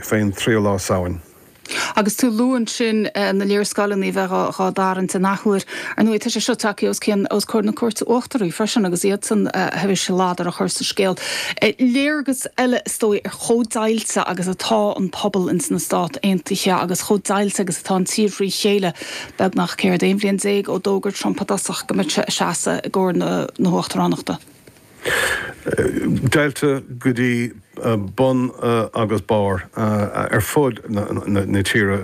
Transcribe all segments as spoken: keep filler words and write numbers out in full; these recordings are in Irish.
Fén tríú lá Samhain. Agus tú ag lua ansin na léarscáileanna a bheith dhá dtarraingt an athuair. Ar ndóigh, tá sé seo tagtha os cionn os comhair na Cúirte Uachtaraí freisin agus iadsan tar éis ladar a chur sa scéal. Léargas eile is dóigh ar chomh deighilte agus atá an pobal ins na Stáit Aontaithe agus chomh deighilte agus atá an tír thrí chéile beagnach céard aon bhliain déag ó d'fhógair Trump i dtosach go mbeadh sé ag seasamh i gcomhair na na huachtaránachta. Deighilte go dtí bun agus barr ar fud na tíre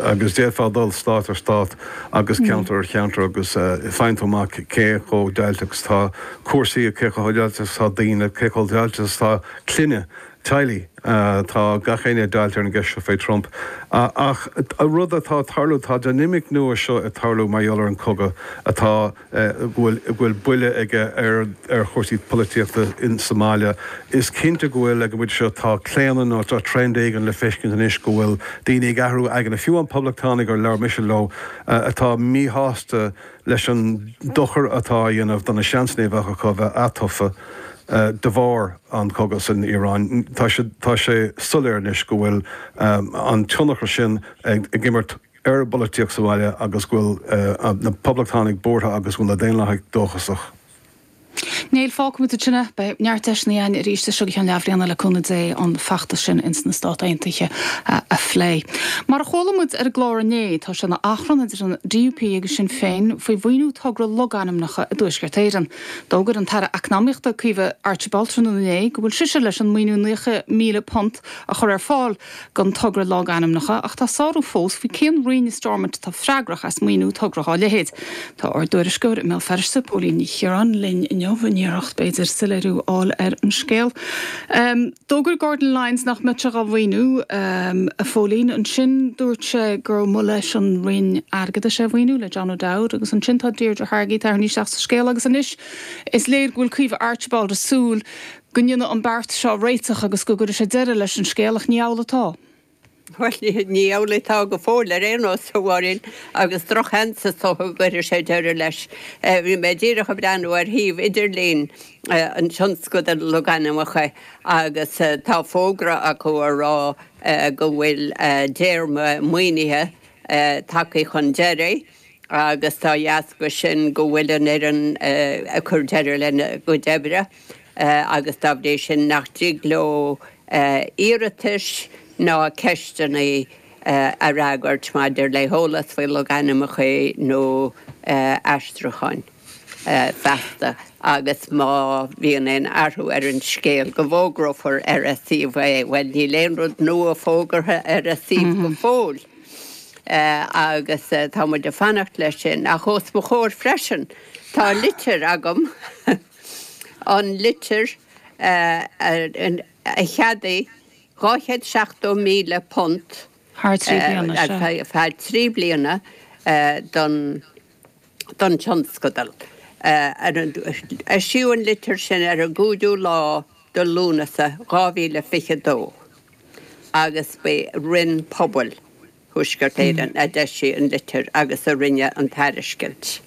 agus d'fhéadfá dul stát ar stát agus ceantar ar cheantar agus faigheann tú amach cé chomh deighilte agus tá cúrsaí, cé chomh deighilte agus tá daoine, cé chomh deighilte agus tá clainne, teaghlaigh. Tá gach éinne deighilte ar an gceist seo fé Trump. Ach an rud atá ag tarlú, tá dinimic nua seo ag tarlú mar gheall ar an cogadh atá, go bhfuil, go bhfuil buille aige ar, ar chúrsaí polaitíochta in sa mbaile. Is cinnte go bhfuil, ag an bpointe seo, tá claonadh nó tá trend éigin le feiscint anois go bhfuil daoine ag athrú aigne, fiú amháin poblachtánaigh ar labhair mise leo atá míshásta leis an dochar atá á dhéanamh do na seansanna a bheadh acu a bheith atofa de bharr an chogadh san Iaráin. Tá sé, tá sé soiléir anois go bhfuil an tionchar sin ag imirt ar an bpolaitíocht sa bhaile agus go bhfuil na poblachtánaigh buartha agus go bhfuil na Daonlathaigh dóchasach. Néill, fágfaimid ansin é. Beidh neart deiseanna againn arís as seo go ceann leathbhliana le cúnamh Dé an feachtas sin ins na Stáit Aontaithe a phlé. Mar a chuala muid ar an gclár inné, tá sé ina achrann idir an D U P agus Sinn Féin faoi mhaoiniú togra logainmneacha i dTuaisceart Éireann. D'fhógair an tAire Eacnamaíochta Caoimhe Archibald tráthnóna inné go bhfuil sise leis an maoiniú naocha míle punt a chur ar fáil don togra logainmneacha ach tá sárú fós faoi cén roinn i Stormont atá freagrach as maoiniú togra dá leithéid. Tá ár dtuairisceoir i mBéal Feirste, Póilín Ní Chiaráin, linn inniu in iarracht b'fhéidir soiléiriú a fháil ar an scéal. D'fhógair Gordon Lyons nach mbeadh sé dhá mhaoiniú, a Phóilín. Ansin dúirt sé gur mba leis an Roinn Airgeadais é a mhaoiniú, le John O'Dowd, agus ansin tá Deirdre Hargey tarraingthe isteach sa scéal agus anois is léir go bhfuil Caoimhe Archibald ag súil go ndéanfaidh an beart seo réiteach agus go gcuirfidh sé deireadh leis an scéal ach ní amhlaidh atá. Bhuel, ní amhlaidh atá go fóill ar aon nós, a Mháirín, agus drochsheans is dócha go gcuirfidh sé deireadh leis. Bhí mé díreach ag breathnú ar shuíomh idirlín an tionscadail logainmneacha agus tá fógra acu a rá go bhfuil a dtéarma maoinithe tagtha chun deiridh agus dá dheasca sin go bhfuil an fhoireann ag cur deireadh lena gcuid oibre agus dá bhrí sin nach dtig leo iarratais ná ceisteanna a fhreagairt maidir le heolas faoi logainmneacha nó aistriúcháin feasta agus má bhíonn aon athrú ar an scéal go bhfógrófar ar a suíomh é. Bhuel, níl aon rud nua fógartha ar a suíomh go fóill agus tá muid ag fanacht leis sin. Ach os mo chomhair freisin tá litir agam, an litir a cheadaigh dhá chéad seachtó míle punt thar trí bliana, ar feadh trí bliana don don tionscadal. Eisíodh an litir sin ar an gcúigiú lá de Lúnasa dhá mhíle fiche dó agus b'é Roinn Pobail Thuaisceart Éireann a d'eisigh an litir agus a rinne an tairiscint.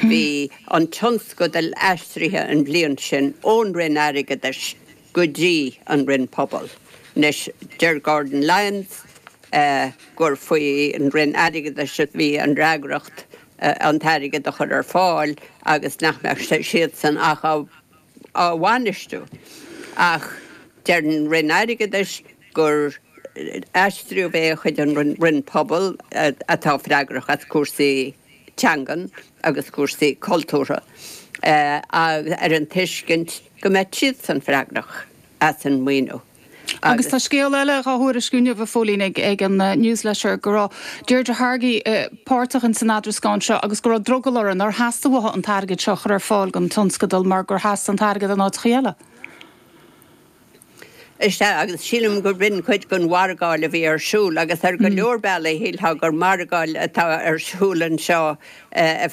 Bhí an tionscadal aistrithe an bhliain sin ón Roinn Airgeadais go dtí an Roinn Pobal. Anois, deir Gordon Lyons gur faoi an Roinn Airgeadais a bhí an fhreagracht an t-airgead a chur ar fáil agus nach mbeadh siadsan ach á bhainistiú. Ach deir an Roinn Airgeadais gur aistríodh é chuig an Roinn Pobal atá freagrach as cúrsaí teangan agus cúrsaí cultúrtha ar an tuiscint go mbeadh siadsan freagrach as an maoiniú. Agus tá scéal eile dhá thuairisciú inniu, a Phóilín, ag an Newsletter go raibh Deirdre Hargey páirteach ins an eadrascán seo agus go raibh drogall uirthi, nár theastaigh uaithi an t-airgead seo a chur ar fáil don tionscadal mar gur theastaigh an t-airgead in áiteachaí eile. Is ea, agus sílim gur b'in cuid den mhargáil a bhí ar siúl, agus ar go leor bealaí shílfeá gur margáil atá ar siúl anseo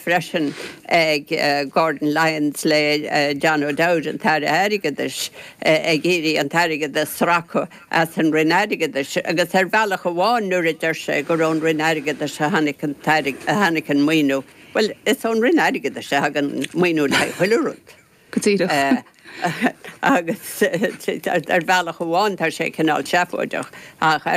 freisin ag Gordon Lyons le John O'Dowd, an tAire Airgeadais, ag iarraidh an t-airgead a sracadh as an Roinn Airgeadais. Agus ar bhealach amháin nuair a deir sé gur ón Roinn Airgeadais a tháinig an a tháinig an maoiniú, bhuel, is ón Roinn Airgeadais a thagann maoiniú le haghaidh chuile rud. Go díreach. Agus ar bhealach amháin tá sé cineál seafóideach ach ar